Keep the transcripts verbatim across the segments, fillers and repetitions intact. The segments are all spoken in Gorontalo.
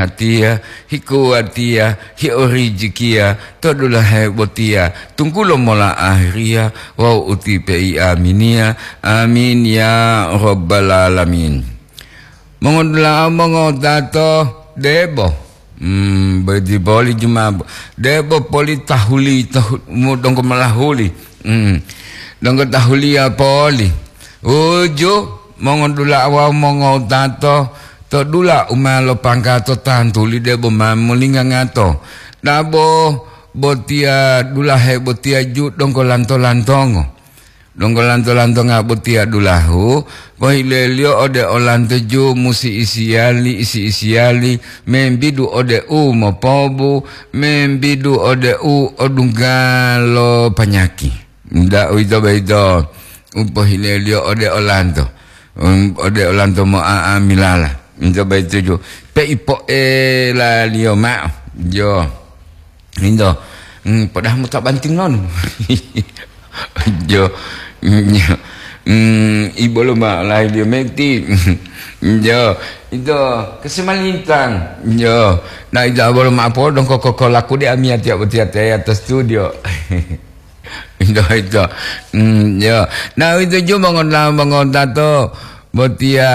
Tiya, hikuwatiya, hiorijikiya, to dulahe botiya, tunggulo mola ahiriya, wawu uti pei aminiya. Amin ya rabbal alamin. Mongodula'a mongotato, debo. Hmm, bodi boli jumabo. Debo poli tahuli, tahu-, mu donggo malahuli. Hmm. Donggo tahuliya poli. Uju, mongodula'a wawu mongotato, to dula u ma lopanggato tantuli debo ma molingangato. Dabo botiya dulahe botiya ju donggo lanto-lantongo. Donggo lanto-lantonga botiya dulahu, pohileliyo ode olanto ju musi isiyali, isi-isiyali, membidu ode u mopobu, membidu ode u odunggalo panyaki. Nda uwito boyito u pohileliyo ode olanto, um, ode olanto mo'a'amilala. Nto boyito ju, pei po'elaliyo ma'o. Jo. Indo, mm, padahal mo ta banting non. Jo, mm, mm, ibolo ma lahidiyo meti. Jo, ito kesemalintang. Jo, na ito abolo ma podong ko, ko, ko laku de amiyatiya botiya te atas studio. Indo ito. Mm, jo. Na ito ju mongon-, mongotato botiya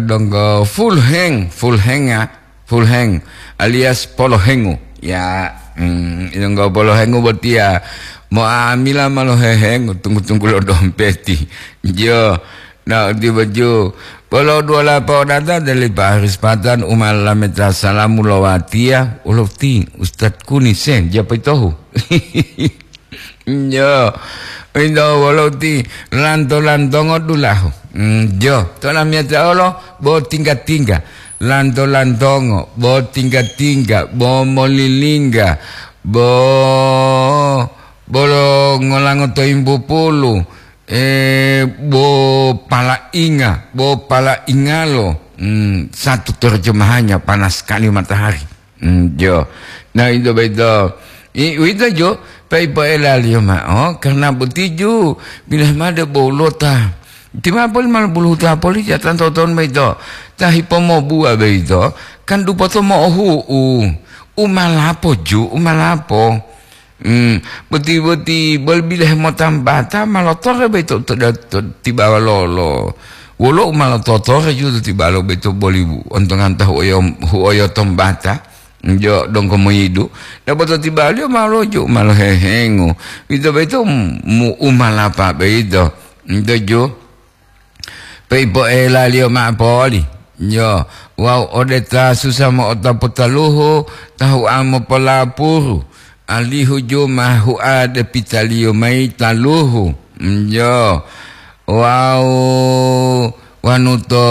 donggo full hang, full hang ya. Full hang alias polohengu. Ya, mm, ilonggo polohengu botiya mo'amila ma lohehengu tunggu-tunggu lo dompeti. Jo, na uti boju. Polo dua lapa odata deli Pak Haris Patan uma lameta salamu lo watiya. Ulo ti, Ustad Kuni sen, japa itohu. Jo, indo wolo ti lanto-lantongo dulahu. Mm, jo, to lamiyata olo bo tingga-tingga. Lanto-lantongo, bo tingga-tingga, bo molilingga, bo, bo lo ngolango to yimpupulu, eh, bo palainga, bo palaingalo. Mm, satu terjemahannya panas sekali matahari. Mm, jo. Na, ito boyito. I, uwito jo, pei poelaliyo ma'o, karna boti ju, bilohe made bo ulota. Ti ma poli ma lobuluhuta poli ja tanto-tanto boyito. Ta hipomobuwa boyito, kan dupoto mo'ohu'u. U ma lapo ju, u ma lapo. Hmm, boti-boti boli bilohe motambata ma lotore boyito to, to, to tibawa lolo. Wolo u ma lototore ju to tibawa lo boyito boli ontongan ta huoyo, huoyo tombata, jo donggo moyidu. Debo to tibaliyo ma loju, ma lohehengu. Ito boyito mu, u ma lapa boyito. Ito ju. Pei poelaliyo ma'o poli, jo, wawu ode ta susa mo'otapu taluhu, ta hua mopolapuru, alihu ju ma hua depitaliyo mayi taluhu, jo, wawu wonu to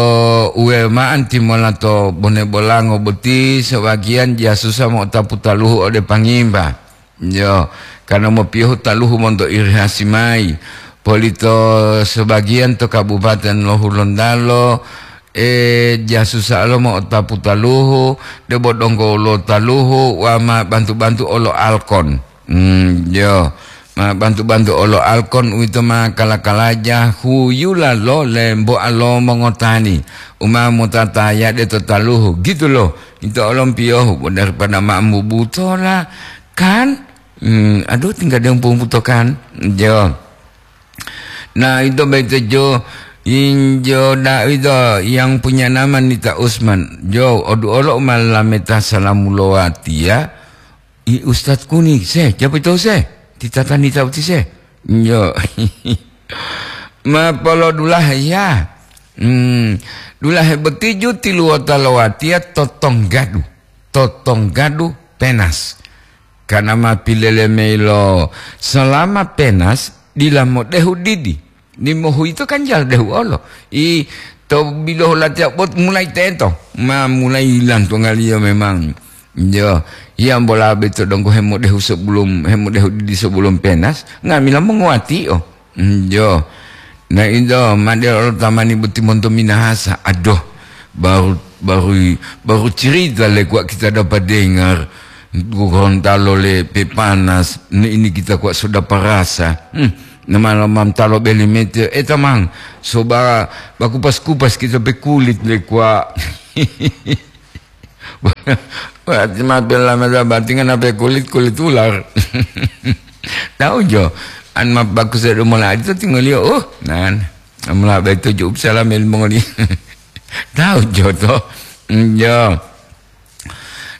uwe ma'o timola to bone bolango boti, sebagiyan jasusa mo'otapu taluhu ode pangimba. Jo, karna mopiyohu taluhu monto irihasi mayi, polito sebagiyan to Kabupaten lo Hulontalo, e, jasusa lo mo'otapu taluhu, debo donggo lo taluhu, wa ma bantu-bantu olo Alkon. Hmm, jo, ma bantu-bantu olo Alkon uwito ma kala-kalaja huyula lo lemboa lo mongotani, u ma motatayade to taluhu, gitu lo. Ito olo mpiyohu, bo daripada ma mubutola, kan? Hmm, aduh, tinggal dia umpu-umpu to kan. Jo. Nah, itu begitu jo. Injo da itu yang punya nama Nita Usman. Jo, odu olo umalameta salamu lowati ya. I Ustaz Kuni, se, siapa itu se? Titata Nita uti se. Jo. Ma polodulahe ya. Hmm, dulahe boti ju tiluwota lowatiya totonggadu. Totonggadu penas. Kana ma pilele mayi lo salama penas dila modehu didi. Dimohu ito kan jala dehu olo. I to bilohu latiya bot mulai teto. Ma mulai lantongaliyo memang. Jo, hiyambola beto donggo hemodehu sebelum, hemodehu didi sebelum penas, nga'amila monguwatio. Njo. Na ito ma delo olo tamani boti monto minahasa. Aduh, baru, baru, baru cerita le kuwa kita dapat dengar. Gorontalo le pepanas, ne ini kita kuwa sudah parasa. Hmm, nama lamam talo beli mete, eh tamang, soba bakupas-kupas kita pe kulit le kuwa. Berarti ma pela meda batingan apa kulit, kulit ular. Tahu jo, an ma bagus dari mulai itu tinggal yo, oh, nan, mulai itu cukup salam ilmu ngoli. Tahu jo to, jo.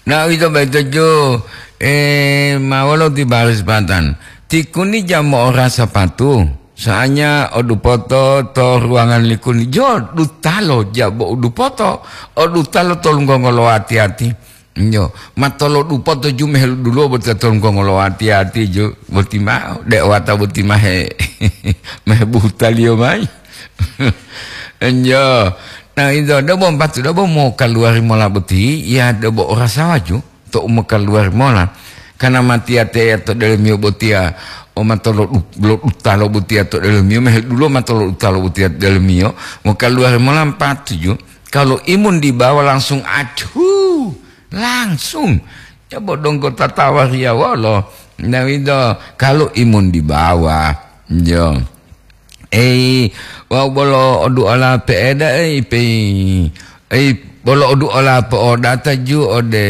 Nah, itu betul jo, eh, mawalo di baris patan. Tikuni jamo ora sapatu. Soalnya odupoto to ruangan likuni jo dutalo jabo udupoto, odutalo to lunggongo lo ati-ati. Nyo, matolo dupoto ju mehelu dulo boti to lunggongo lo ati-ati ju boti mao, de wata boti mahe, mahe buhutaliyo mai. Nyo, nah, itu debo patu debo mau kaluari mola boti, ya debo ora sawaju. To u mokaluwari mola, kana matiya teya to delomiyo botiya, o matolo du-, lo dutalo botiya to delomiyo, mehedulo matolo dutalo botiya to delomiyo, mokaluwari mola mpatuju. Kalau imun dibawa langsung acu, langsung. Coba donggo tatawa riya wolo. Nah, itu kalau imun dibawa, yo. Ei, wau bolo oduola pe'eda, ei, pei. Ei, bolo oduola po'odata ju ode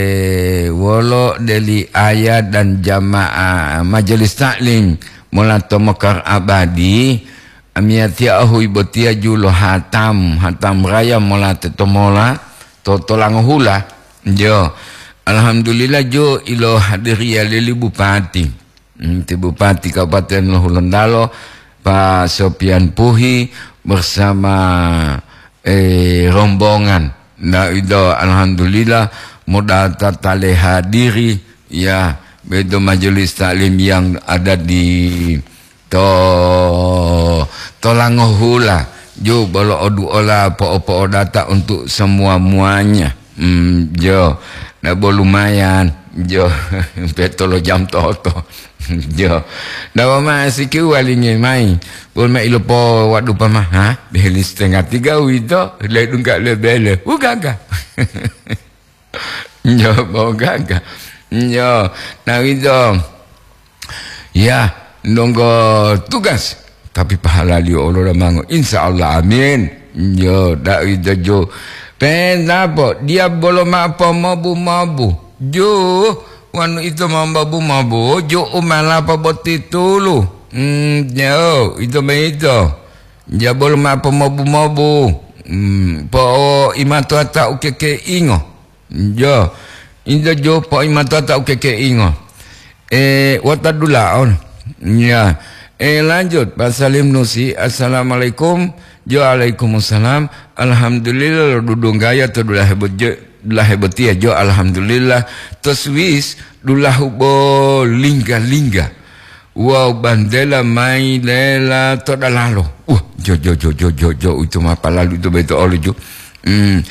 wolo deli ayah dan jamaah majelis taklim mola to Mekar Abadi. Amiyatiya ohui botiya ju lo hatam, hatam raya mola tetomola to, to Langohula. Jo, alhamdulillah ju ilo hadiriya lili bupati. Hmm, ti Bupati Kabupaten Hulontalo, Pak Sopian Puhi bersama, eh, rombongan. Nah, itu alhamdulillah modata tale hadiri, ya, beto majelis taklim yang ada di to, to Langohula. Ju bolo oduola po'o-po'odata untuk semua muanya. Hmm, jo. Nah, bo lumayan. Jo. Petolo jam toto. Jo. Nah, wama siki walingi mai. Pun ma ilopo wadu pama, ha? Beheli setengah tiga wito. Le dungka le bele. Ugaga. Nyo, bo gaga. Nyo, nah, wito. Ya, nonggo tugas. Tapi pahalaliyo olo damango. Insya Allah, amin. Nyo, dak wito ju. Pentapo, dia bolo ma pomobu-mobu. Ju, wanu ito ma mobu-mobu, ju umalapa boti tulu. Hmm, nyo, ito ma ito. Dia bolo ma pomobu-mobu. Hmm, po imato ata ukeke ingo. Jo, injo jo po'imatota u kekeingo. E, wota dulaon. Ya. E, lanjut, Pak Salim Nusi, "Assalamualaikum." Jo, "Alaikumussalam." "Alhamdulillah, lo dudunggaya to dulahe bo-, jo, dulahe botiya." Jo, "Alhamdulillah." To Swiss, dulahu bo lingga-lingga. Wawu bantela mayi lela to dalalo. Wah, jo, jo, jo, jo, jo, jo, uwito ma palalu ito boyito olo jo. Hmm.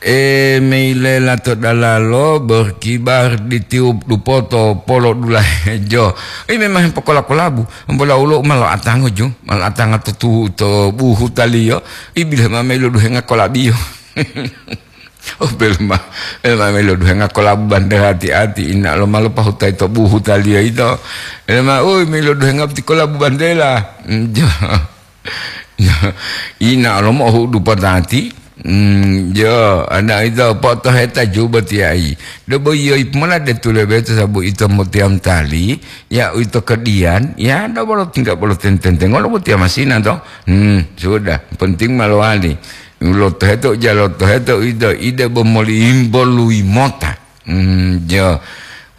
E, mayi lela to dalalo, berkibar ditiup dupoto polo dulahe jo. I memang pokola-kolabu, ambola ulo ma lo'atango jo, ma lo'atanga to tu-, to buhutaliyo, i bilohe ma mayi loduhenga kolabiyo. Oh, bele ma, bele ma melo duhenga kolabu bantela ati-ati, ina lo malo pahutai to buhutaliyo ito. Bele ma, ui, melo duhenga ti kolabu bantela. Mm, jo. Ina lo mohudu patati. Mm, jo, ana ito potoheta juba tiai. Dobo iyo ipmona de tulebeto sabu ito motiam tali, ya ito kedian, ya dobolo tingga bolo tententengolo botia masina to. Hmm, sudah, penting ma lowali. Lotoheto, ja lotoheto ito, ide bo moli imbolui mota. Hmm, jo.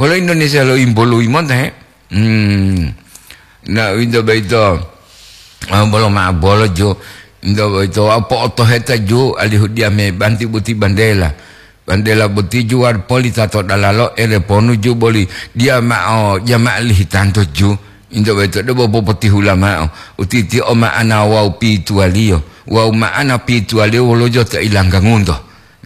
Wolo Indonesia lo imbolui mota, he? Hmm. Na, ito boyito, ah, bolo ma bolo jo. Ito boyito, ah, po'otoheta jo, alihu dia me banti buti bandela. Bandela boti ju wari poli tato dalalo ele ponu ju boli dia ma'o jama'a lihitanto ju. Into boyito debo popotihula ma'o. Utiti o ma'ana wawu pituwaliyo. Wawu ma'ana pituwaliyo wolo jo ta ilanggangunto.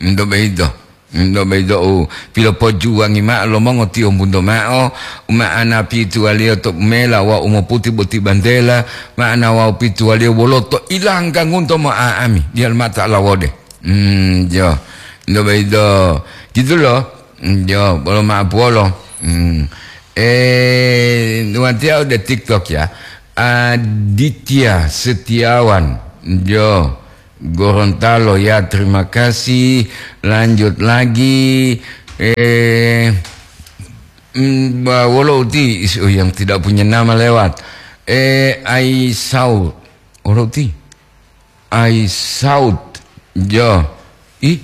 Into boyito. Into boyito u pilopojuwangi ma'o lo mongotiyombunto ma'o. Ma'ana pituwaliyo to mela wawu moputi boti bantela. Ma'ana wawu pituwaliyo wolo to ilanggangunto mo'a'ami. Diyalu ma'o ta lawode. Hmm, jo. Ndo boyito, gitu lo. Hmm, jo, bolo ma'o puwolo. Hmm. Eh, watiya ode TikTok ya. Aditya Setiawan. Jo. Gorontalo ya, terima kasih. Lanjut lagi. Eh, mm, ba-, wolo uti is-, oh, yang tidak punya nama lewat. Eh, Aisaut. Wolo uti? Aisaut. Jo. Ih.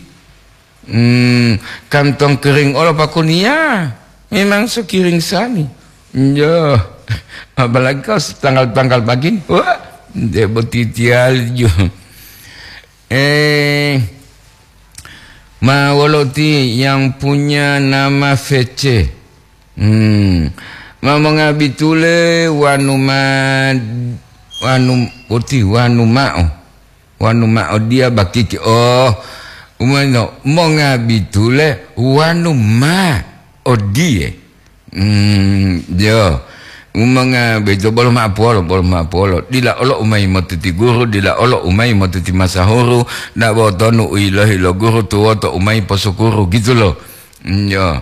Hmm, kantong kering olo pakuniya. Memang so kering sani. Jo. Apalagi kau setanggal-tanggal pagi. Wah, de botitial jo. Eh, ma wolo ti yang punya nama V C? Hmm. Ma mongabi tule wanu ma-, wanu, boti wanu ma'o. Wanu ma'o diya bakiki. Oh, umano mongabi tule wanu ma odiye. Hmm, jo. Umanga beto bolo ma'apuwolo, bolo ma'apuwolo. Dila olo umayi motuti guru, dila olo umayi motuti masahuru, dabo tonu u yilohi lo guru tuwoto umayi posukuru, gitu lo. Hmm, jo.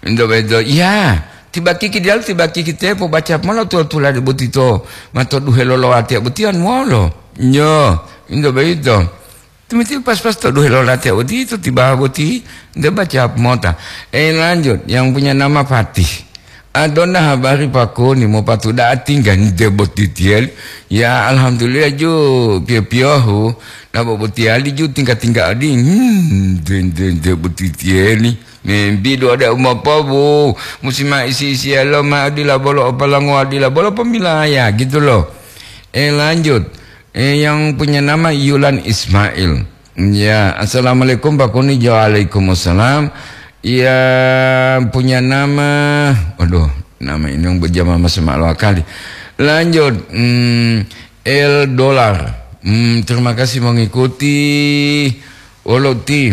Into beto, iya, tibakiki diyalu, tibakiki tepo, baca mola tuwa-tulade boti to, mato duhe lolowatiya botiyan wolo. Jo, into beto. Timiti pas-pas to duhe lo latiya odito tibawa boti, nte baca mota. Eh, lanjut, yang punya nama Fatih. Adona habari pakoni mo patuda'a tingga nte boti tiyeli. Ya, alhamdulillah ju piyo-piyohu. Nabo botiyali ju tingga-tingga adi. Hmm, nte, nte, nte boti tiyeli. Membidu ada umapabu. Musi ma isi-isi alo ma adila bolo opalango adila bolo pemilaya gitu loh. Eh, lanjut. Eh, yang punya nama Yulan Ismail. Ya, assalamualaikum Pak Kuni. Waalaikumsalam. Yang punya nama, waduh, nama ini yang berjamaah masih maklum kali. Lanjut, hmm, El Dolar. Hmm, terima kasih mengikuti. Wolo ti.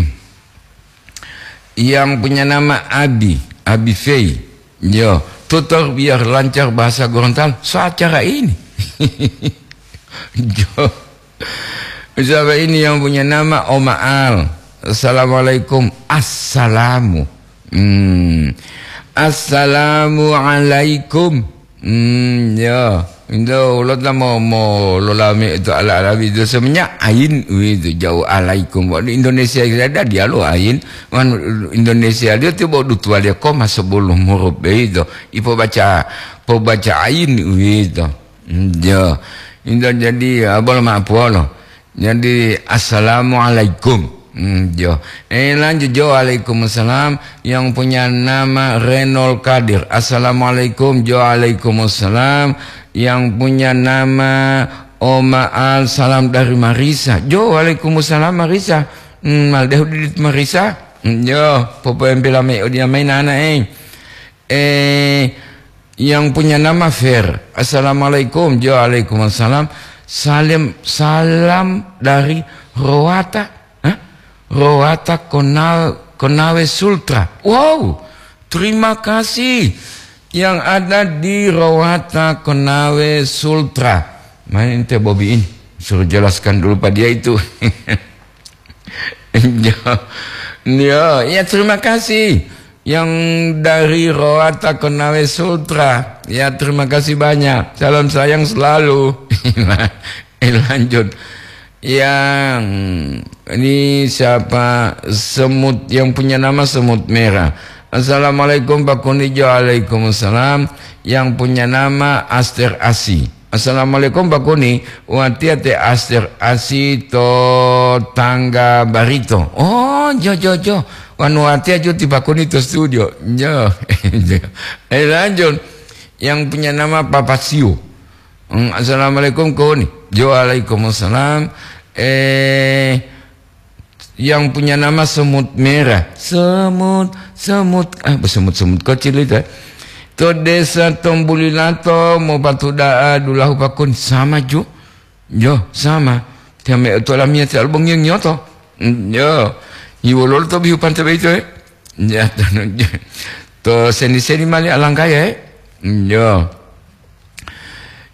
Yang punya nama Abi, Abi Fei. Yo, tutor biar lancar bahasa Gorontalo. So acara ini. Jo. Siapa ini yang punya nama Oma Al? Assalamualaikum. Assalamu. Hmm. Assalamualaikum. Hmm, ya. Indo ulo ta mo, mo lolame itu ala-ala itu semuanya ain itu jauh alaikum. Waktu Indonesia kita ada dialog ain. Wan Indonesia dia tu bawa dutua dia koma sebelum huruf itu. Ipo baca, po baca ain itu. Hmm, ya. Indo jadi abal ma puolo. Jadi, "Assalamualaikum." Hmm, jo. Eh, lanjut, jo, "Waalaikumsalam." Yang punya nama Renol Kadir. "Assalamualaikum." Jo, "Waalaikumsalam." Yang punya nama Oma Al, "Salam dari Marisa." Jo, "Waalaikumsalam, Marisa." Hmm, maldehu didit Marisa. Hmm, jo, popoempela mai odiya mai nana, eh. Eh, yang punya nama Fer. "Assalamualaikum." Jo, "Waalaikumsalam." "Salam, salam dari Rowata." Hah? "Rowata Kona-, Konawe Sultra." Wow, terima kasih yang ada di Rowata Konawe Sultra. Main ente Bobi ini, suruh jelaskan dulu pada dia itu. Ya, ya, ya, terima kasih. Yang dari Roata Konawe Sultra. Ya, terima kasih banyak. Salam sayang selalu. Eh, lanjut. Yang ini siapa? Semut, yang punya nama Semut Merah. "Assalamualaikum, Pak Kunijo." "Waalaikumsalam." Yang punya nama Aster Asi. "Assalamualaikum, Pak Kuni. Watiya te Aster Asi to Tangga Barito." Oh, jo, jo, jo. Wanu watiya jo ti Pak Kuni to studio. Jo. Eh, lanjut. Yang punya nama Papa Siu. Hmm, "Assalamualaikum, Kuni." Jo, "Waalaikumsalam." Eh, yang punya nama Semut Merah. Semut, semut, ah, semut-semut kecil itu, eh. To Desa Tombulilato, mopatuda'a dulahu Pak Kuni. Sama, ju. Jo, sama. Tiame to lamia ti albong yang nyoto. Mm, jo. Iwololo to bihu pante beito, eh. Ya, to, to seni-seni mali alangkaya, eh. Mm, jo.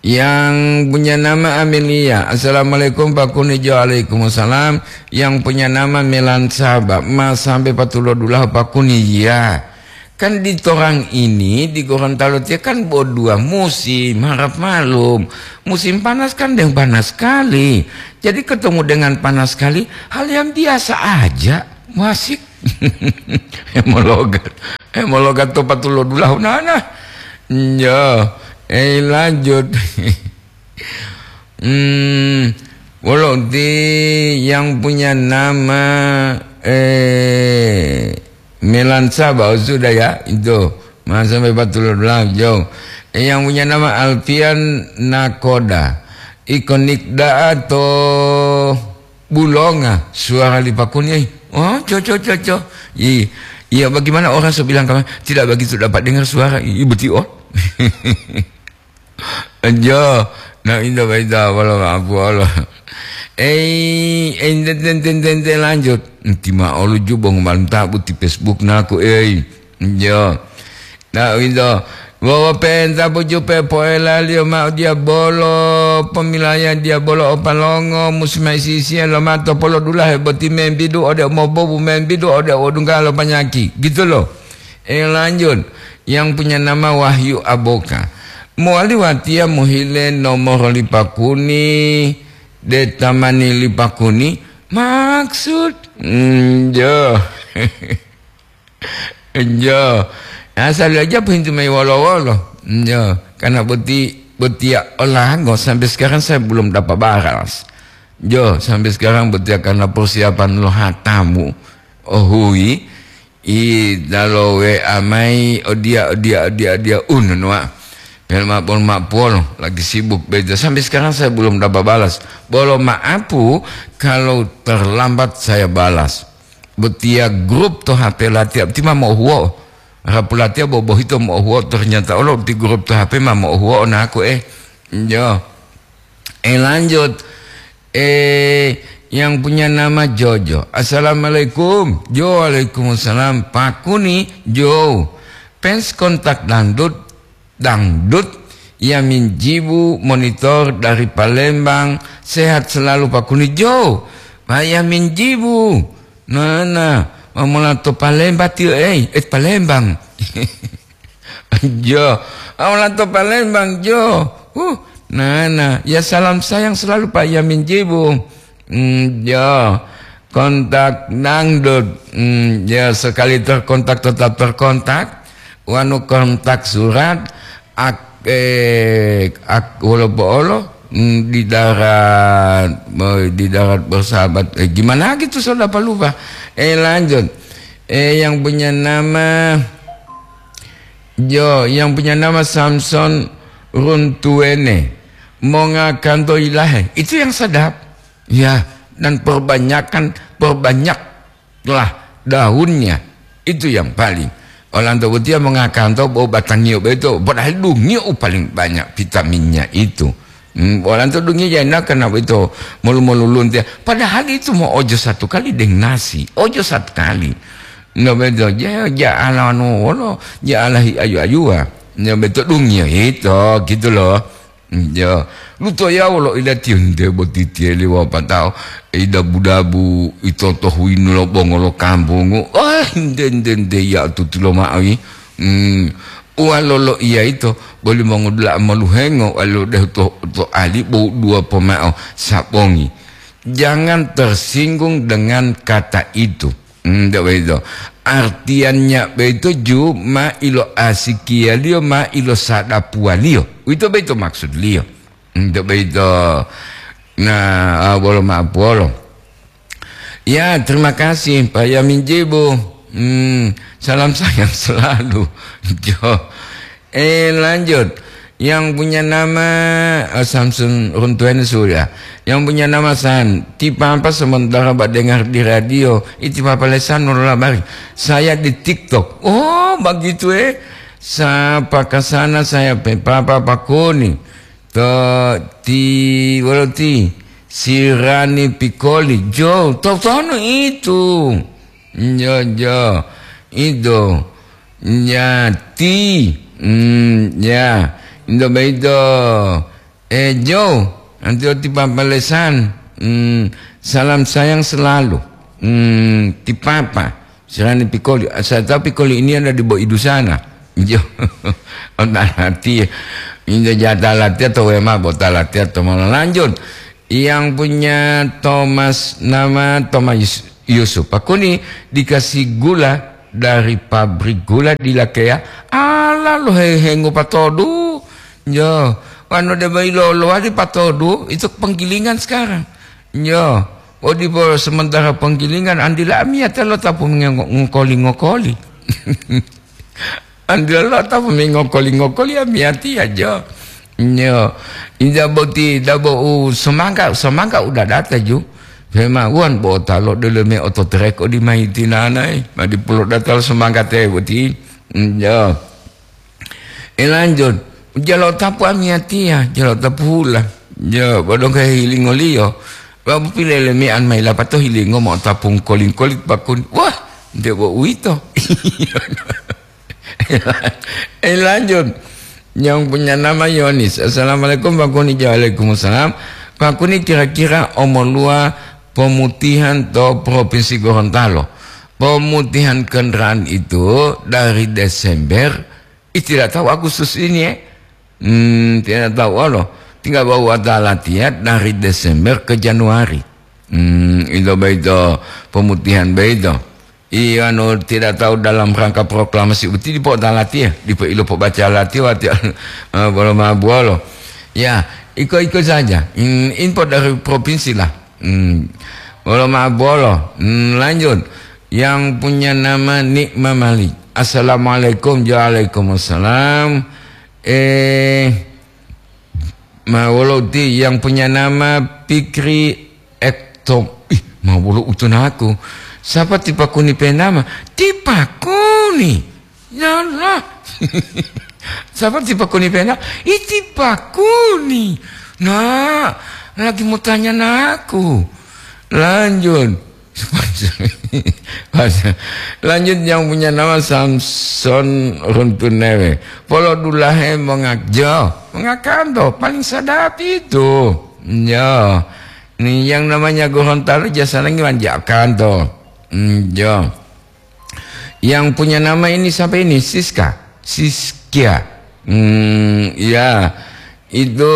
Yang punya nama Amelia. "Assalamualaikum, Pak Kunijo." "Waalaikumsalam." Yang punya nama Melan Saba. "Ma sampai patulo dulahu, Pak Kuni." Ya. Kan di torang ini, di Gorontalo tiya kan bo dua musim, harap malum. Musim panas kan deng panas sekali. Jadi ketemu dengan panas sekali, hal yang biasa aja. Wasik. Hemologat. Hemologat to patulodulahu nana. Yo, eh, lanjut. Hmm, wolo uti yang punya nama, eh, Melansa, bau sudah ya, itu. Masa sampai patulodulahu, jauh. Eh, yang punya nama Alfian Nakoda. Ikonik da'a to bulonga suara lipakuni, eh. Oh, co, co, co, co. I-, iya, bagaimana orang so bilang kamu tidak begitu dapat dengar suara? I-, betul, oh. Jo, na inda baita wala ma'apu Allah. Ei, ei, ten, ten, ten, ten, ten, lanjut. Enti ma olu jubong malam tabu ti Facebook naku, ei. Jo. Na inda. Wawa penta pujupe poelaliyo ma'o diabolo, pomilaya diabolo o palongo, musi maisisiya lo mato polodulahe boti membidu ode umobobu, membidu ode odunggalo panyaki. Gitu loh. Eh, lanjut. Yang punya nama Wahyu Aboka. Mowali watiya mohile nomoro lipakuni, de tamani lipakuni, maksud. Hmm, jo. Jo. Asal aja pintu mai wolo-wolo. Jo. Karena boti, botia olango sampai sekarang saya belum dapat balas. Jo, sampai sekarang botia karena persiapan lo hatamu. Oh, hui. I dalo W A mai, odiya, odiya, odiya, odiya, ununuwa. Pelma pon ma puwolo, lagi sibuk beja. Sampai sekarang saya belum dapat balas. Bolo ma'apu, kalau terlambat saya balas. Botiya grup to H P latiya, ti ma mo'ohuwo'o. Rapu latiya bobohito mo'ohuwo'o, ternyata olo ti grup to H P ma mo'ohuwo'o naku, eh. Yo. Eh, lanjut. Eh, yang punya nama Jojo. "Assalamualaikum." Jo, "Waalaikumsalam." Pakuni, Jo. Fans kontak dangdut, dangdut. Yamin Jibu, monitor dari Palembang. Sehat selalu, Pakuni, Jo. Pak Yamin Jibu. Nana, mamola to Palembang tiyo, eh, eh, Palembang. Jo, awala to Palembang, Jo. Uh, nana, ya salam sayang selalu Pak Yamin Jibu. Hmm, Jo, kontak dangdut. Hmm, ya sekali terkontak tetap terkontak. Wanu kontak surat, ak, eh, ak, wolo po'olo, hmm, di darat, eh, di darat bersahabat. Eh, gimana gitu, saudara, lupa. Eh, lanjut. Eh, yang punya nama Jo, yang punya nama Samson Runtuene, monga kanto ilahe. Itu yang sedap. Ya, dan perbanyakan, perbanyaklah daunnya. Itu yang paling. Olanto botiya monga kanto bo batangiyo beto, padahal dungiyo u paling banyak vitaminnya itu. Hmm, olanto dungiyo jana kena beto, molu-molu luntiya. Padahal itu mau ojo satu kali deng nasi, ojo satu kali. No beto, ja, ja ala anu wolo, ja ala hi ayu-ayuwa. No beto dungiyo hito, gitu loh. Hmm, ya, lutoyawo lo ilatiyo nte boti tiyeli wawu patao, idabu-dabu, itoto huyinu lo bongo lo kampungu. Oh, nte, nte, nte, ya tutulo ma'o yi. Hmm, uwalo lo iya ito, boli mongodula'a moluhengo, walo dehu to, to ali bo dua pomao sabongi. Jangan tersinggung dengan kata itu. Hmm, ndak begitu. Artiannya begitu ju ma ilo asikiyaliyo, ma ilo sadapuwaliyo. Uwito begitu maksudliyo. Hmm, ndak begitu. Nah, ah, bolo ma'apuwolo. Ya, terima kasih, Pak Yamin Jibu. Hmm, salam sayang selalu. Jo. Eh, lanjut. Yang punya nama, eh, Samsun Runtuhen sudah. Yang punya nama San. Ti papa sementara ba dengar di radio. Iti papa lesan nurula bari. Saya di TikTok. Oh, begitu, eh. Sapa ke sana saya pe papa pakuni. To ti, wolo ti. Sirani pikoli. Jo, to tono itu. Jo, jo. Itu. Nyati. Hmm, ya. Indo beito. Eh, Jo, nanti oti papa lesan. Hmm, salam sayang selalu. Hmm, ti papa. Serani pikoli. Saya tahu pikoli ini ada di Boidu sana. Jo. Otalati. Indo jata latihan atau wema botalati atau malah lanjut. Yang punya Thomas, nama Thomas Yusuf, pakuni dikasih gula dari pabrik gula di Lakeya, ala lohe-, hengo patodu. Yo, wanu deba ilolowa di patodu, itu penggilingan sekarang. Yo, odipo sementara penggilingan, andila amiyata lo tapu ngengo-, ngokoli-ngokoli. Andelo ta pemengokoli-ngokoli amiyatiya jo. Nyo. Inja boti dabo u semangka, semangka uda data ju. Pema uwan bota lo dele me oto trek odi mai tinanai. Madi pulo data lo semangka te boti. Nyo. E lanjut. Jalo tapu amiyatiya, jalo tapu hula. Jo, bodong ke hilingoliyo. Babu pilele me an mai lapato hilingo mo tapung koling-koling pakun. Wah, nde bo uwito. Eh, lanjut. Yang punya nama Yonis. Assalamualaikum, Pak Kuni. Waalaikumsalam. Pak Kuni, kira-kira omoluwa pomutihan to Provinsi Gorontalo? Pomutihan kendaraan itu dari Desember, ih, tidak tahu Agustus ini, eh. Hmm, tidak tahu, Allah. Tinggal bawa talatiya dari Desember ke Januari. Hmm, itu begitu pomutihan begitu. Iya, anu, tidak tahu dalam rangka proklamasi uti dipo dalati ya, dipo ilo pobaca lati wati, eh, bolo ma buolo. Ya, iko-iko saja. Hmm, impor dari provinsi lah. Hmm. Bolo ma buolo. Hmm, lanjut. Yang punya nama Nikma Malik. Assalamualaikum. Waalaikumsalam. Eh, ma wolo uti yang punya nama Pikri Ektom. Ih, ma wolo utunaku. Siapa tipakuni penama? Tipakuni. Yalah. Siapa tipakuni penama? Ih, tipakuni. Nah, lagi mau tanya naku. Lanjut. Lanjut yang punya nama Samson Runtunewe. Polo dulahe mongakjo. Mengakanto, paling sadap itu. Ya. Ini yang namanya Gorontalo jasa lagi manjakanto. Hmm, ya. Yang punya nama ini siapa ini? Siska. Siskia. Hmm, ya. Itu,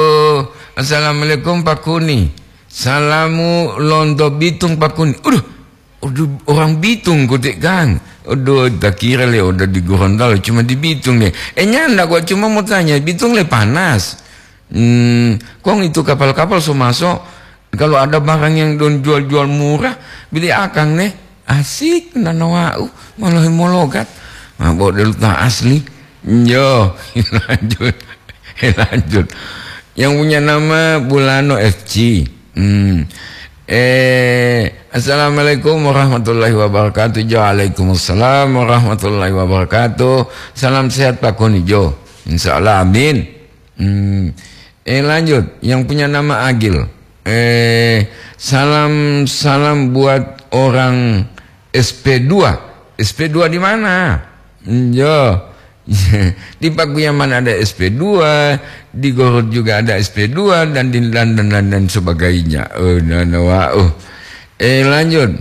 "Assalamualaikum, Pak Kuni. Salamu lonto Bitung, Pak Kuni." Uduh, uduh, orang Bitung kote kan. Uduh, tak kira le udah di Gorontalo, cuma di Bitung deh. Eh, nyanda gua cuma mau tanya, Bitung le panas. Hmm, kong itu kapal-kapal so maso, kalau ada barang yang don jual-jual murah, beli akang neh. Asik, nana wa'u, molohe mologat. Nah, bo delu ta asli. Yo, lanjut. Lanjut. Yang punya nama Bulano F C. Hmm. Eh, "Assalamualaikum warahmatullahi wabarakatuh." Jo, "Waalaikumsalam warahmatullahi wabarakatuh. Salam sehat, Pak Kuni." Jo, insya Allah, amin. Hmm. Eh, lanjut. Yang punya nama Agil. Eh, salam, salam buat orang S P dua. S P dua di mana? Hmm, yo. Di Pakuyaman ada S P dua, di Gorut juga ada S P dua, dan di, dan, dan, dan, dan sebagainya. Oh, no, no, wah, oh. Eh, lanjut.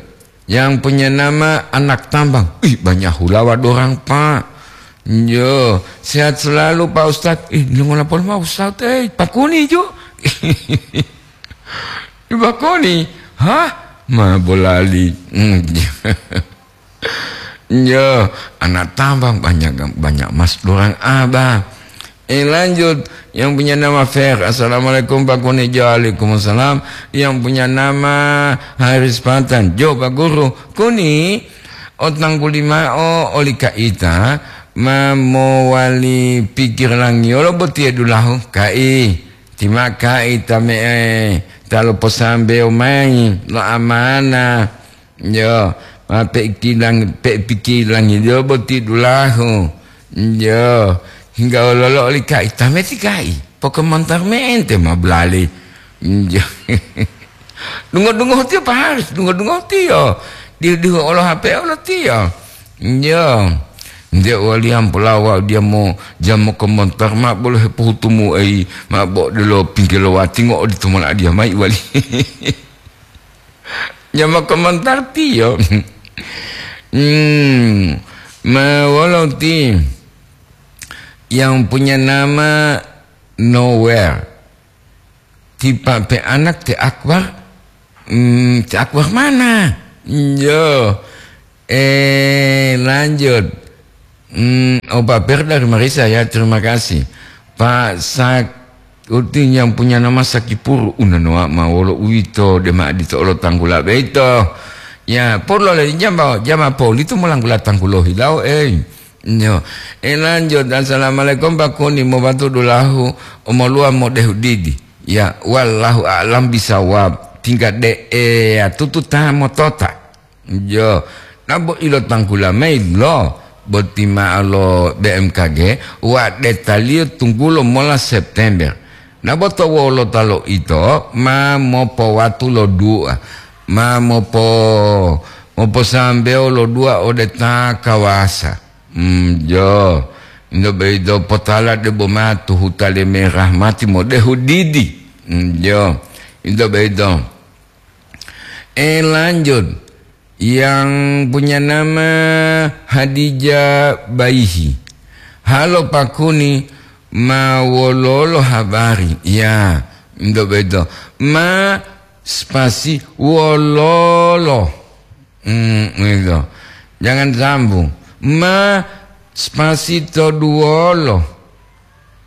Yang punya nama Anak Tambang. Ih, banyak hulawa dorang, Pak. Yo, sehat selalu, Pak Ustadz. Ih, ngola pol ma Ustadz, eh, Pak Kuni, Jo. Pak Kuni, hah? Ma bolali. Hmm. Yo, Anak Tambang banyak, banyak mas dorang abah. Eh, lanjut. Yang punya nama Fer. "Assalamualaikum, Pak Kuni." Jo, "Waalaikumsalam." Yang punya nama Haris Patan. Jo, Pak Guru. "Kuni, otangkuli mao oli kaita, ma mowali pikir langiyolo botiye dulahu, kai. Tima kaita me'e ta loposambewo mayi lo amana." Yo, ma pe'ikilang-, pe'ipikilangiyo boti dulahu. Yo, hingga wololo oli kai, tameti kai, poke montor mente ma bulali. Yo. Dungo-dungo tiyo pa harus, dungo-dungo tiyo. Dihu-dihu olo H P olo tiyo. Yo. Nde waliyan polawa dia mo jamo ke montor ma bolo hepohutumu ei ma bo delo pinggilo watingo odito mola dia mai wali. Nyama komentar tiyo. Hmm, ma wolo ti yang punya nama Nowhere. Tipa pe anak te Akbar. Hmm, te Akbar mana? Yo. Eh, lanjut. Hmm, oh, Pak Fer dari Marisa, ya, terima kasih. Pak Sak-, Uti yang punya nama Sakipuru, unanoa ma wolo uwito, dema adito olo tanggula beito. Ya, polo le jamba, jama poli tu molanggula tanggulo hilau, eh. Yo. Eh, lanjut. Assalamualaikum, Pak Kuni, mobatu dulahu, omoluwa modehu didi. Ya, wallahu a'lam bisawab. Tingga de'e ya tutu ta motota. Jo, nabo ilo tangkula mayi lo boti ma'o lo B M K G, wa detaliyo tunggulo mola September. Nabo to wolota lo ito ma mopowatu lo dua, ma mopo-, moposambewo lo dua ode ta kawasa. Mm, jo, into boyito potala debo ma tuhuta le merah mati modehu didi. Mm, jo, into boyito. Eh, lanjut. Yang punya nama Hadijah Baihi. Halo Pak Kuni, ma wololo habari? Ya, untuk begitu. Ma spasi wololo. Hmm, itu. Jangan sambung. Ma spasi toduwolo.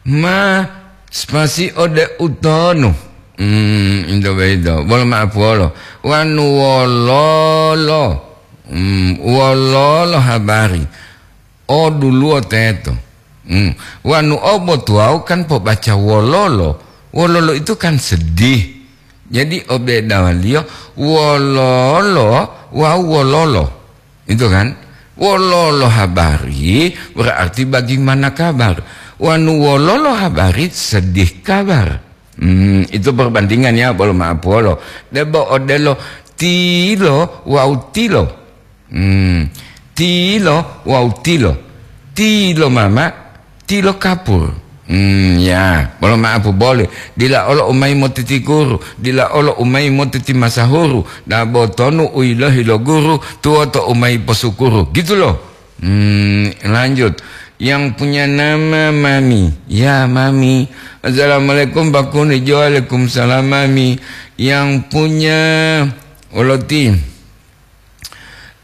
Ma spasi ode utonu. Hmm, into boyito. Bolo ma'apuwolo. Wanu wololo. Hmm, wololo habari. O duluwo teto. Hmm. Wanu obo tuwawu kan pobaca wololo. Wololo itu kan sedih. Jadi obedawaliyo wololo wawu wololo. Itu kan? Wololo habari berarti bagaimana kabar. Wanu wololo habari sedih kabar. Hmm, itu perbandingan ya, bolo ma'apuwolo. Debo odelo tilo wawu tilo. Hmm, tilo wawu tilo. Tilo mama, tilo kapur. Hmm, ya, bolo ma'apu boli. Dila olo umayi motiti guru, dila olo umayi motiti masahuru, dabo tonu u yilohi lo guru, tuwoto umayi posukuru. Gitu loh. Hmm, lanjut. Yang punya nama Mami. Ya, Mami. Assalamualaikum, Pak Kuni. Jo, waalaikumsalam, Mami. Yang punya oloti.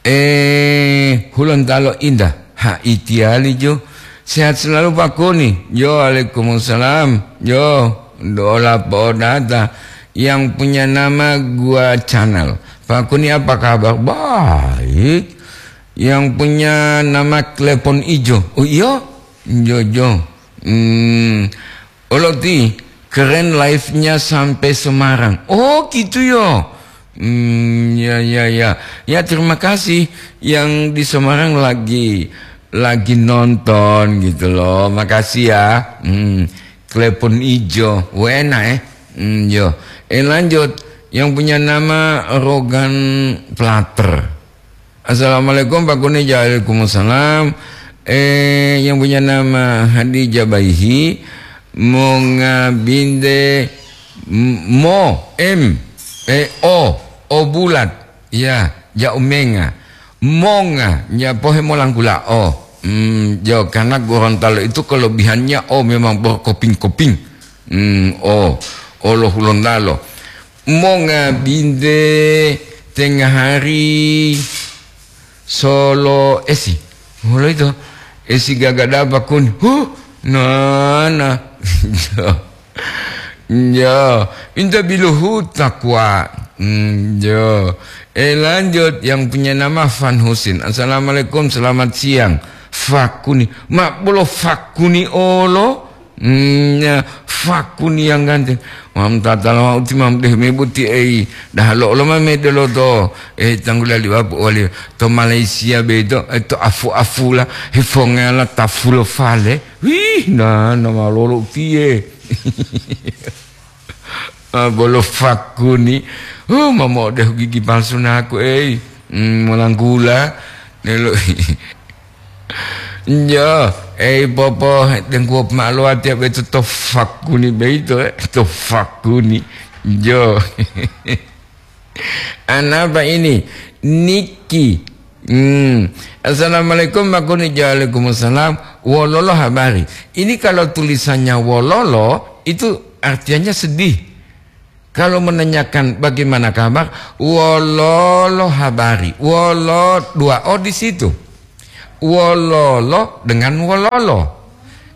Eh, Hulontalo Indah. Ha, itiyali jo. Sehat selalu, Pak Kuni. Yo, waalaikumsalam. Yo, dola podata. Yang punya nama Gua Channel. Pak Kuni, apa kabar? Baik. Yang punya nama Klepon Ijo. Oh, iya? Jo, jo. Hmm, Oloti, keren live-nya sampai Semarang. Oh, gitu ya. Hmm, ya, ya, ya. Ya, terima kasih yang di Semarang lagi, lagi nonton gitu loh. Makasih ya. Hmm, Klepon Ijo. Wena, eh. Hmm, yo. Eh, lanjut. Yang punya nama Rogan Platter. Assalamualaikum, Pak Kuni. Waalaikumsalam. Eh, yang punya nama Hadijah Baihi, monga binte m-, mo, M, eh, O, O bulat. Ya, ja umenga. Monga, ya pohe molanggula O. Hmm, jo, karena Gorontalo itu kelebihannya O memang berkoping-koping. Hmm, O, O lo Hulontalo. Monga binte tengah hari solo esi. Molo ito, esi gagada Pak Kuni. Huh, nana. Ya, inta biluhu takwa. Hmm, ya. Eh, lanjut, yang punya nama Fan Husin. Assalamualaikum, selamat siang. Fakuni. Mak bolo Fakuni olo. Hmm, ya, Fakuni yang ganteng. Mam tatala mau ti mam deh mebuti ei. Dah lo lo mame delo to. Eh, tanggula liwa wali to Malaysia beto, eh, to afu-afula, hifongela tafulo fale. Wih, na, na malolo piye. Ah, bolo Fakuni. Oh, mamo deh gigi palsu naku, ei. Hmm, molanggula. Nelo. Njo, ei popo, dengkuwo ma'o lo watiya boyito to Fakuni boyito, eh, to Fakuni. Njo. Anapa ini? Niki. Hmm. Assalamualaikum, Pak Kuni. Waalaikumsalam. Wololo habari. Ini kalau tulisannya wololo, itu artinya sedih. Kalau menanyakan bagaimana kabar, wololo habari, wolo dua o di situ. Wololo dengan wololo.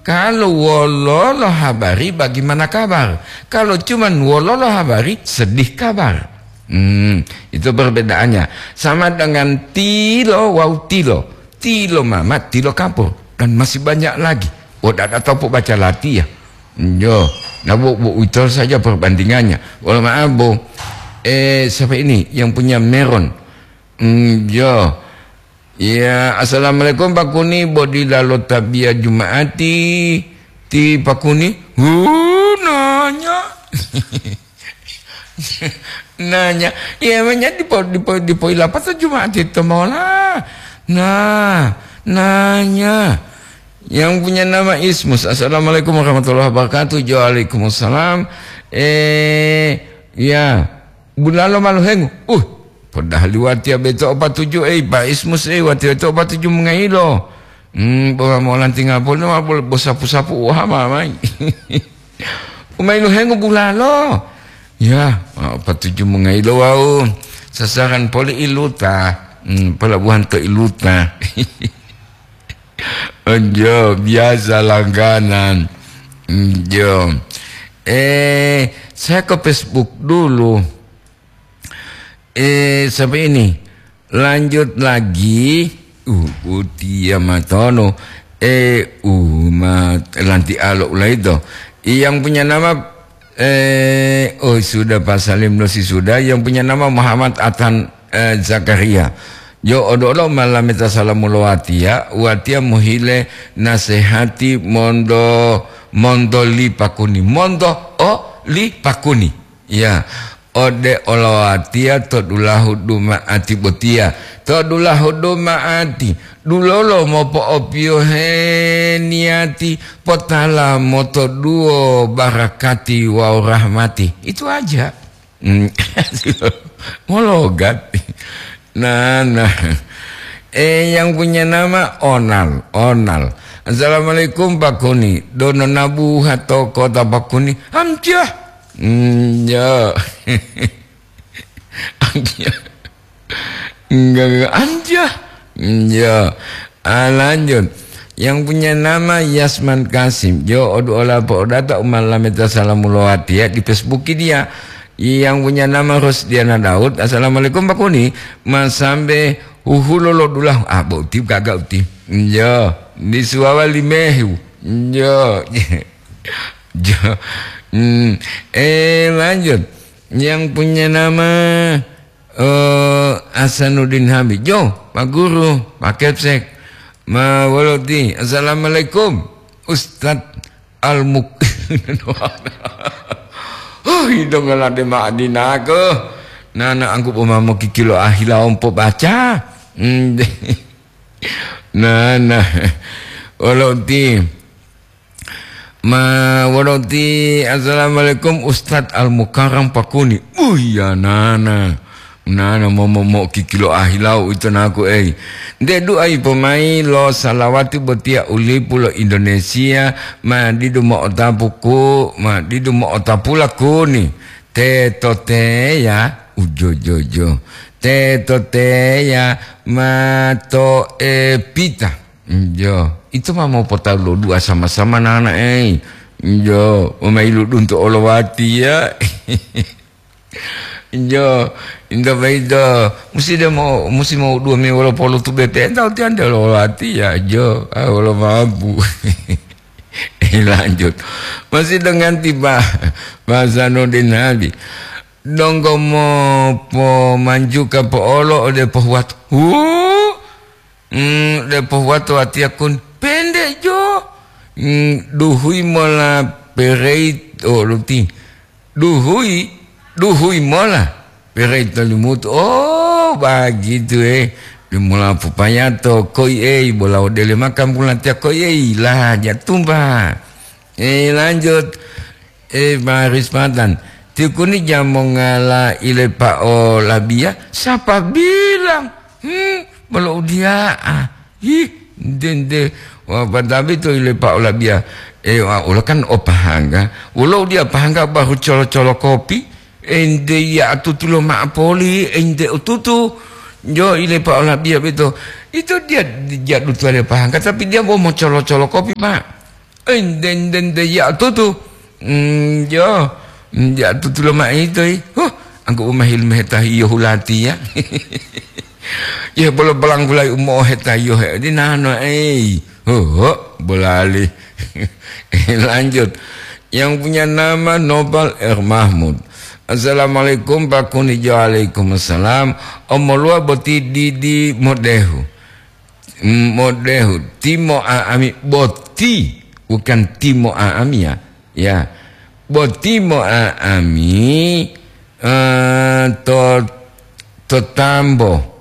Kalau wololo habari, bagaimana kabar? Kalau cuman wololo habari, sedih kabar. Hmm, itu perbedaannya. Sama dengan tilo wau tilo. Tilo mama, tilo kapur. Dan masih banyak lagi. Oh, tidak tahu baca lati ya. Yo, nah, bu, bu, itu saja perbandingannya. Wala maaf, Bu. Eh, siapa ini yang punya Meron? Hmm, yo. Ya, assalamualaikum Pak Kuni, bo dilalo tabiya Juma'ati ti Pak Kuni? Hu, nanya. Nanya, iya, menya dipo, dipo, dipoilapata Juma'ati to mola. Nah, nanya. Yang punya nama Ismus. Assalamualaikum warahmatullahi wabarakatuh. Waalaikumsalam. Eh, ya. Bulalo maluhengu. Uh, padahal watiya beto opa tuju, ei, Pak Ismus, ei, watiya beto opa tuju mengayilo. Hmm, bo molantinga poli ma bo, bo sapu-sapu wahama mai. Umailuhengu bulalo. Ya, opa tuju mengayilo wau. Sasaran poli iluta. Hmm, pelabuhan to iluta. Enjo, biasa langganan. Enjo. Eh, saya ke Facebook dulu. Eh, sampai ini. Lanjut lagi. Uh, utia matono. Eh, umat lanti alo ulaito. Yang punya nama, eh, oh, sudah, Pak Salim Losi sudah. Yang punya nama Muhammad Atan, eh, Zakaria. Jo odo-odo malameta salamu lo watiya, watiya mohile nasehati mondo, mondo li Pakuni. Mondo o li Pakuni. Ya, ode olowatiya to dulahu duma'ati botiya. To dulahu duma'ati, dulolo mopo'opiyohe niyati, potala motoduwo barakati wawu rahmati. Itu aja. Hmm, mologat. Nah, nah. Eh, yang punya nama Onal, Onal. "Assalamualaikum, Pak Kuni. Dono nabuha to kota Pak Kuni?" Amjah. Hmm, ya. Amjah. Enggak, enggak. Amjah. Hmm, ya. Ah, lanjut. Yang punya nama Yasman Kasim. Jo, odu ola po odata umalameta salamu lowati ya di Facebook dia. Yang punya nama Rosdiana Daud. "Assalamualaikum, Pak Kuni. Masambe huhulo lo dulahu." Ah, bo uti gaga uti. Njo, di suwawa limehu. Njo. Jo. Hmm. Eh, lanjut. Yang punya nama, eh, Hasanuddin Habib. Jo, Pak Guru, Pak Kepsek. Ma woloti. "Assalamualaikum, Ustadz Al-Muk." Huh, hidonga lade ma'adinako. Nana angkup umamo kikilo ahila ompo baca. Hmm. Nana. Woloti. Ma woloti, "Assalamualaikum, Ustadz Al-Mukarram Pakuni." Uh, iya, nana. Nana momo mo kikilo ahilau ito naku ei. Nte duai pomai lo salawati botiya u lipu lo Indonesia, ma didu mo'otapu ku, ma didu mo'otapu lakuni. Teto teya, ujojojo. Teto teya, ma to e pita. Njo, ito ma mopotalu lo dua sama-sama nana ei. Njo, omailu dunto olowati ya. Jo, inta baito, musi de mo, musi mo dua mi wolo polo tu B P N, tau tian de lo lati ya, jo, ah, wolo mabu. Eh, lanjut. Masih dengan tiba, bahasa Nurdin Nabi. Donggo mo pomanjuka po'olo ode pohuwato. Hu! Mm, de pohuwato watiya kun. Pende jo. Mm, duhui mola pereit, oh, luti. Duhui, duhui mola. Perei tolimutu. Oh, bagitu, eh. Dimola popayato, koi, eh, bola odele makan pulatiya, koi, eh, lah, jatumba. Eh, lanjut. Eh, Pak Rispatan. Tikuni jamongala ile pa'o labiya, siapa bilang? Hmm, bolo udia'a. Ih, nde, nde. Wa, patabi to ile pa'o labiya. Eh, wa, ula kan o pahangga. Wolo udia pahangga baru colo-colo kopi. Ente ya tutu lo ma'o poli, ente ututu. Jo, ile pa olabiya beto. Ito dia, dia dutuwaliyo pahangka, tapi dia bo mocolo-colo kopi, Pak. Ente, ente, ente ya tutu. Hmm, jo. Hmm, ya tutu lo ma'o ito, i. Huh, angku umahil mehetahiyo hulati ya. Ya, bolo-, bolanggulai umo'o hetahiyo he, di nano, ei. Huh, bolali. Lanjut. Yang punya nama Nopal R Mahmud. "Assalamualaikum, Pak Kunijo." "Waalaikumsalam." "Omoluwa boti didi modehu?" "Modehu. Timo aami boti." Bukan timo aami, ya. Ya. "Boti mo aami, eh, to, to tambo."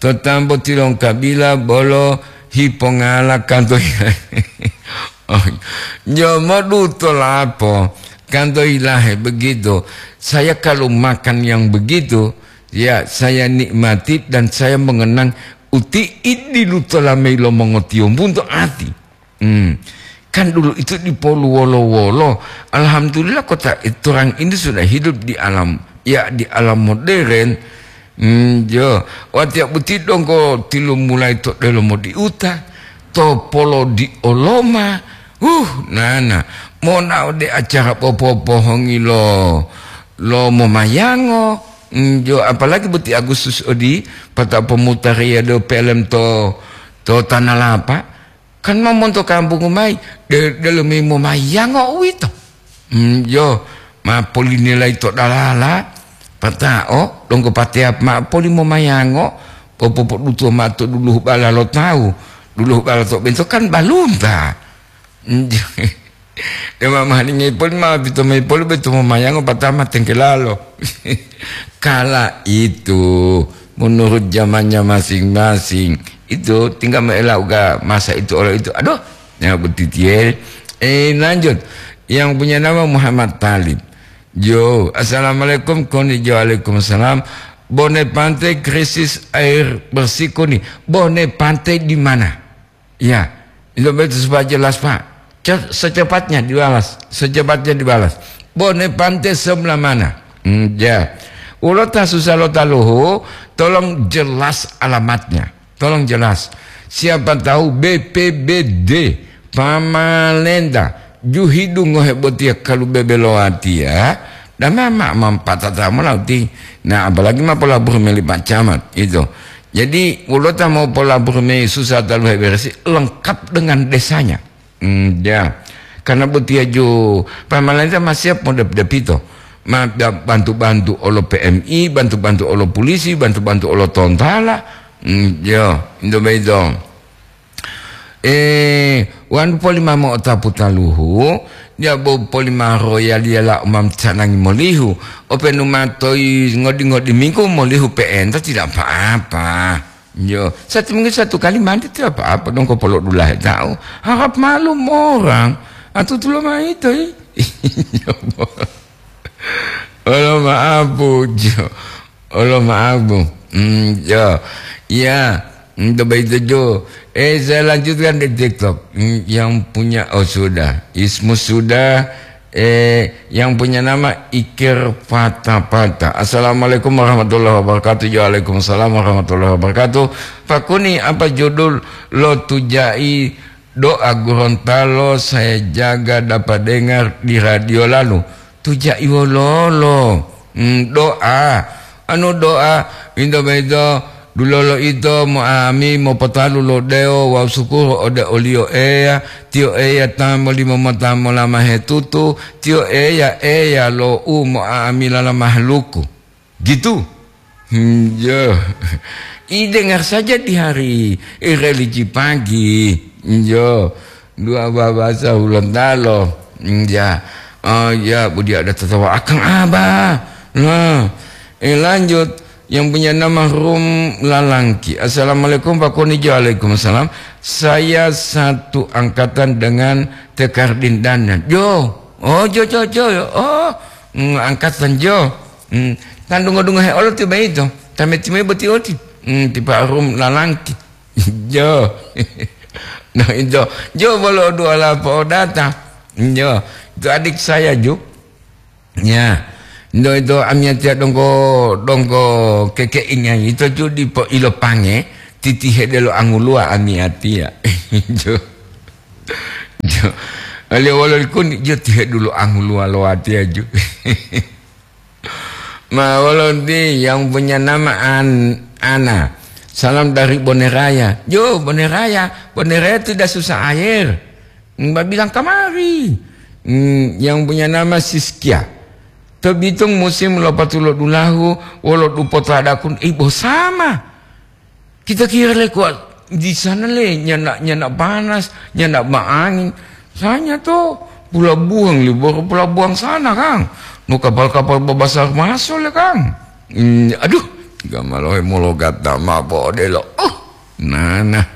To tambo tilongkabila bolo hipongala kanto hilahe. Oh, jomo duto lapo kanto hilahe begitu. Saya kalau makan yang begitu, ya saya nikmati dan saya mengenang uti idi lutola mei lo mongotiyombunto ati. Hmm. Kan dulu itu dipolu wolo-wolo. Alhamdulillah kota Torang ini sudah hidup di alam, ya, di alam modern. Hmm, jo. Watiya boti donggo tilumulai to delomo diuta, to polo di oloma. Huh, nana. Mona ode acara popopohongi lo, lo momayango. Hmm, jo, apalagi boti Agustus odi, pata pomutariya do pelem to, to Tanah Lapa. Kan ma monto kampungu mayi, de-, delomi momayango uwito. Hmm, jo, ma polinilai to dalala, pata'o, donggo pateya ma poli momayango, popopoduto ma to duluhu bala lo tawu. Duluhu bala to bento kan balunta. Hmm, jo. Dema mahalingi poli ma pito mayi poli beto momayango patama tengkelalo. Kala itu, menurut zamannya masing-masing, itu tinggal me'ela uga masa itu olo itu. Aduh, ya betitie. Eh, lanjut. Yang punya nama Muhammad Talib. Jo, "Assalamualaikum, Koni." Jo, "Waalaikumsalam." "Bone Pante krisis air bersih, Koni. Bone Pante di mana?" Ya, itu betul supaya jelas, Pak. Ce-, secepatnya dibalas, secepatnya dibalas. Bone Pante sebelah mana? Hmm, ya. Ulo ta susah lo taluhu, tolong jelas alamatnya. Tolong jelas. Siapa tahu B P B D, pamalenta, juhidu ngohe botiya kalu bebelowatiya, dan mama mampatata molauti. Nah, apalagi ma polabur meli Pak Camat, itu. Jadi, ulota mau polabur me susah talu heberesi lengkap dengan desanya. Hmm, ya. Karena botiya ju pamalenta masih siap mau dep-, depito. Ma-, da-, bantu-bantu olo P M I, bantu-bantu olo polisi, bantu-bantu olo tontala. Hmm, ya, itu begitu. Eh, wanu poli mamo otapu taluhu, dia bo poli ma royaliya la umam canangi molihu. Openu ma toyi ngodi-ngodi minggu molihu pe'enta tidak apa-apa. Yo, satu minggu satu kali mandi tidak apa-apa dong ko polo dulahe tau. Harap maklum orang. Atu tulo ma ito, i. Olo maaf, Bu. Jo. Olo maaf, Bu. Hmm, ya. Ya, hmm, coba itu, Jo. Eh, saya lanjutkan di TikTok. Hmm, yang punya, oh, sudah. Ismu sudah. Eh, yang punya nama Ikir Pata-Pata. "Assalamualaikum warahmatullahi wabarakatuh." "Waalaikumsalam warahmatullahi wabarakatuh." "Pak Kuni, apa judul lo tujai doa Gorontalo saya jaga dapat dengar di radio lalu?" Tujai wololo? Hmm, doa. Anu doa, winto boyito, dulolo ito mo'ami mopotalu lo dewo wawu sukuru ode oliyo Eya, tiyo Eya ta molimo mota molama hetutu, tiyo Eya, Eya lo u mo'ami lala mahaluku. Gitu. Hmm, yo. I dengar saja di hari, eh, religi pagi. Yo. Dua babasa Hulontalo. Hmm, ya. Oh, ya, budi ada tertawa. Akang Abah. Nah, eh, lanjut. Yang punya nama Rum Lalangki. "Assalamualaikum, Pak Konijo." "Waalaikumsalam. Saya satu angkatan dengan Tekardin Dana." Jo. Oh, jo, jo, jo. Oh, mm, angkatan jo. Hmm, tan dungo-dungo he olo tiba ito. Tame-time boti oti. Hmm, tipa Rum Lalangki. Jo. Nah, itu. Jo bolo dua lapo data. Jo. Itu adik saya, Ju. Ya. Ndo ito amiyatiya donggo, donggo kekeinga ito ju dipo ilopange, titihe delo anguluwa amiyatiya. Jo. Jo. Aliyo wolo likuni, jo tihe dulu anguluwa lo watiya ju. Ma wolo nti yang punya nama An-, Ana. Salam dari Boneraya. Jo, Boneraya. Boneraya tidak susah air. Mbak bilang kamari. Hmm, yang punya nama Siskia. To Bitung musim lopatulo dulahu, wolo dupo tadakun, eh, bosama. Kita kira le kuat di sana le, nyana, nyana panas, nyana baangin. Saya to pelabuhan, libur pelabuhan sana, Kang. No kapal-kapal babasar masuk le, Kang. Hmm, aduh, gamalohe mologat dama podelo. Oh, nana.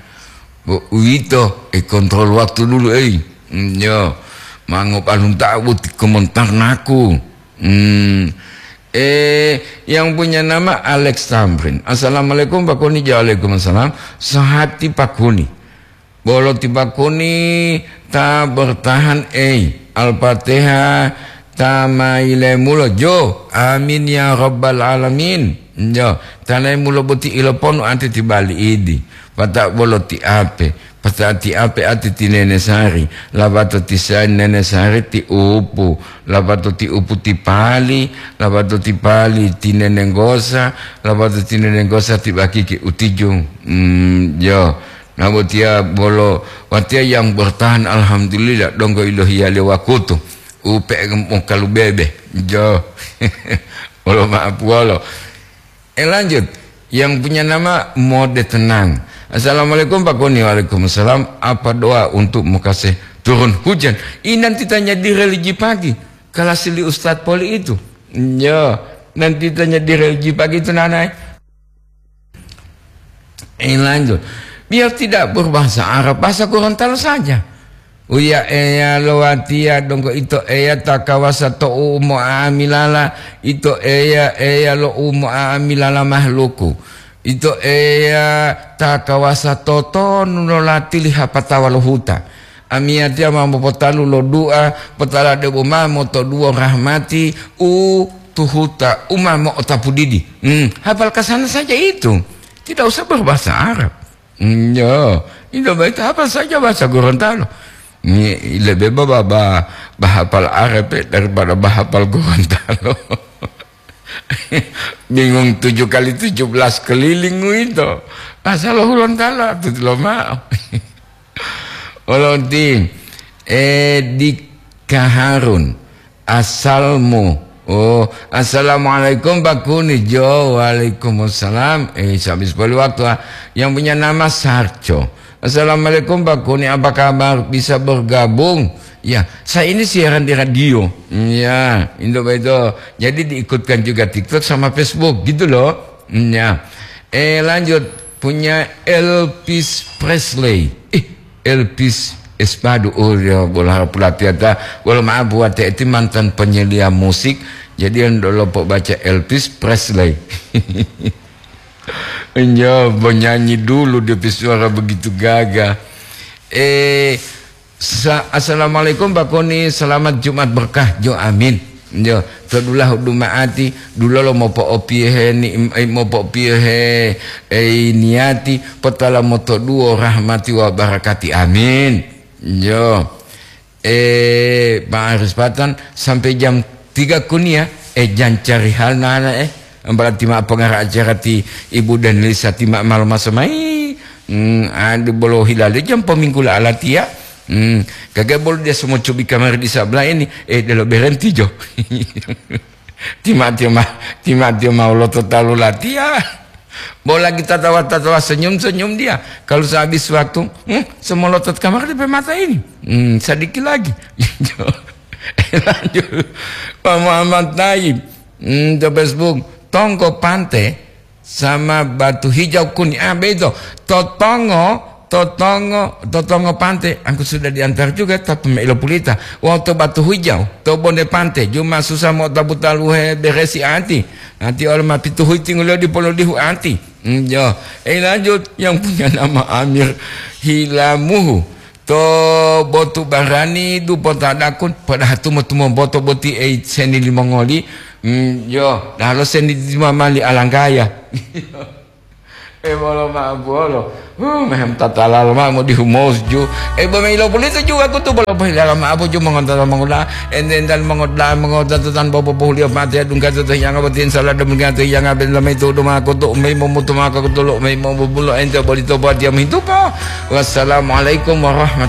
Bu, uwito, eh, kontrol waktu dulu, eh. Hmm, yo, mango palunta buti komentar naku. Hmm. Eh, yang punya nama Alex Tamrin. Assalamualaikum, Pak Kuni. Waalaikumsalam. Sahati Pak Kuni. Bolo ti Pak Kuni ta bertahan, eh. Al-Fatihah ta mailemulo. Jo. Amin ya rabbal alamin. Jo. Tanai mulo boti iloponu ante ti bali idi. Pata bolo ti ape. Pasa'ati ape ati ti nene Sari, lapato ti sa-, nene Sari ti upu, lapato ti upu ti pali, lapato ti pali ti nene Nggosa, lapato ti nene Nggosa ti bakiki utiju. Hmm, yo. Nah, botiya bolo watiya yang bertahan, alhamdulillah, donggo ilohiya le wakutu. Upe mokalu bebe. Jo. Wolo ma'apuwolo. Eh, lanjut. Yang punya nama Mode Tenang. Assalamualaikum, Pak Kuni. Waalaikumsalam. Apa doa untuk Mekasih turun hujan? Ini nanti tanya di religi pagi. Kelas li Ustadz Poli itu. Ya, nanti tanya di religi pagi itu, Nanai. Eh, lanjut. Biar tidak berbahasa Arab, bahasa Gorontalo saja. Uya Eya lo watiya donggo ito Eya ta kawasa to u mo'amilala, ito Eya, Eya lo u mo'amilala mahluku. Ito Eya ta kawasa totonu lo latili hapatawa lo huta. Amiyatiya ma mopotalu lo du'a, potala debo ma motoduwo rahmati u tuhuta, u ma mo'otapu didi. Hmm, hafal kasana saja itu. Tidak usah berbahasa Arab. Hmm, ya, itu baik apa saja bahasa Gorontalo. Ini lebih ba-, ba-, ba-, bahapal Arab, eh, daripada bahapal Gorontalo. Bingung tujuh kali tujuh belas keliling itu. Asal Gorontalo, itu lo mau. Olonti, eh, di Kaharun. Asalmu. Oh, assalamualaikum, Pak Kuni. Jo, waalaikumsalam. Eh, habis poli waktu, ah. Yang punya nama Sarco. Assalamualaikum, Pak Kuni. Apa kabar? Bisa bergabung? Ya, saya ini siaran di radio. Ya, Indo Bedo. Jadi diikutkan juga TikTok sama Facebook, gitu loh. Ya. Eh, lanjut. Punya Elvis Presley. Eh, Elvis Espadu, oh, ya, bola pelatih ta. Wala maaf buat ti mantan penyedia musik, jadi yang dulu po baca Elvis Presley. Ya, penyanyi dulu dia pe suara begitu gagah. Eh, sa-, assalamualaikum, Pak Koni, selamat Jumat berkah, jo, amin. Jo, to dulahu duma'ati, dulolo mopo'opiyohe ni-, eh, mopo'opiyohe, eh, niyati, potala motoduwo rahmati wa barakati. Amin. Jo. Eh, Pak Aris Patan, sampai jam tiga kuniya, eh, jan cari hal nana, eh. Berarti ma pengara acara ti Ibu dan Lisa ti ma malu maso mai. Hmm, adu bolo hilale jam peminggu la alatiya. Hmm, kagak bolo dia semua cubi kamar di sebelah ini. Eh, delo berhenti jo. Tima-tima, tima-tima ulo to talu latiya. Bo lagi tatawa-tatawa, senyum-senyum dia. Kalau sehabis waktu, hmm, semolotot kamar di mata ini. Hmm, sedikit lagi. Lanjut. Pak Muhammad Taib. Hmm, to Facebook. Tongko Pante sama Batu Hijau Kuni. Ah, beto. Totongo, Totongo, Totongo Pante. Aku sudah diantar juga, tapi meilo pulita. Wau to Batu Hijau, to Bonde Pante. Juma susah mau tabu taluhe beresi ati. Nanti oleh ma pitu huiti ngulo di polo dihu ati. Hmm, jo. Eh, lanjut. Yang punya nama Amir Hilamuhu. To botu barani dupo tadakun, padahal tumo-tumo boto boti ei seni limongoli. Hmm, yo, dalo seni di mama li alanggaya. E bolo ma bolo. Huh, mehem tatala lo ma mo di humos ju. E bo me ilo polito ju aku tu bolo pohilala ma apo ju mongonta mongola. Enten dan mongoda mongoda tu tan bobo pohulio mate dungka tu yang apa tin salah demikian tu yang apa lama itu duma aku tu mei mo mutu maka aku tu lo mei mo bubulo ente bolito buat dia mintupa. Wassalamualaikum warahmatullahi